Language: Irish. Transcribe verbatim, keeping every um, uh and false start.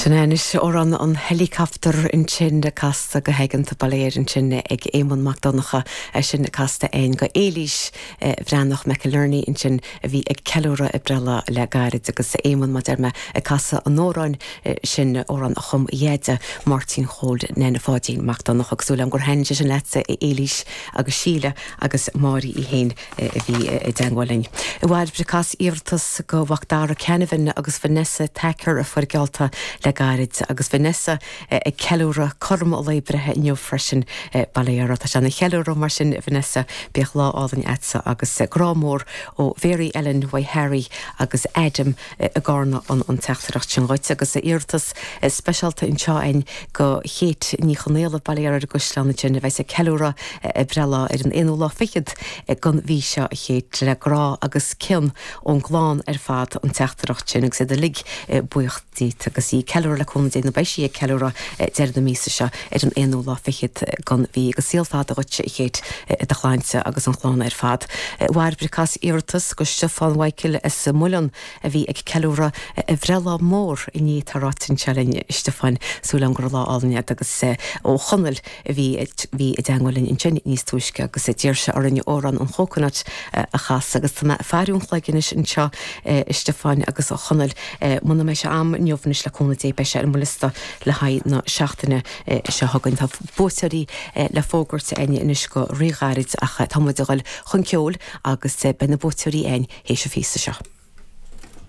Sin anois amhrán an Helicopter ansin casta go haigeanta ba léir ansin ag Éamonn Mac Donncha sin casta againn do Éilís Bhreathnach McInerney ansin a bhí ag ceiliúradh a breithlá le gairid agus Éamonn mar a deir mé ag casadh an amhráin sin amhrán a chum a dheaide Máirtín Chóil Nene Pháidín Mac Donncha agus súil agam gur thaitin sé sin leatsa Éilís agus Síle agus Máirí í féin a bhí i dteagmháil linn. I bhfad cas iarratas go Mhacdara Canavan agus Vanessa Tacker a fuair geallta le gairid agus Vanessa ag ceiliúradh cothrom a lae breithe inniu freisin ba léir tá sé ina cheiliúradh mar sin Vanessa bíodh lá álainn agatsa agus grá mór ó Mhary Ellen White Harry agus Adam i gCarna an an teachtaireacht sin dhuit agus iarratas speisialta anseo againn do Chéit Ní Chonaola ba léir ar an gCaisleán sin a bheas ag ceiliúradh a breithlá ar an aonú lá fichead den mhí seo a Chéit le grá agus cion ón gclann ar fad an teachtaireacht sin agus iad uilig buíoch díot agus í ceiliúradh le cúnamh Dé nó beidh sí ag ceiliúradh deireadh na míosa seo ar an aonú lá fichead den mhí agus saol fada dhuit a Chéit do shláinte agus an chlann ar fad. Bhairbre cas iarratas go Stiofán Michael as Muileann a bhí ag ceiliúradh a bhreithlá mór inné tá ráite anseo linn Stiofán súil agam go raibh lá álainn agat agus ó Chonaill a bhí bhí i dteagmháil linn ansin níos túisce agus d'iarr sé orainn amhrán an Chóconut a chasadh agus tá mé ag faire an chloig anois anseo Stiofán agus ó Chonaill muna mbeidh sé agam inniu anois le cúnamh Dé beidh sé ar mo liosta le haghaidh na seachtaine seo chugainn tá buaiteoirí le fógairt againn anois go ríghairid ach tá muid ag dul chun ceoil agus beidh na buaiteoirí againn théis an phíosa seo.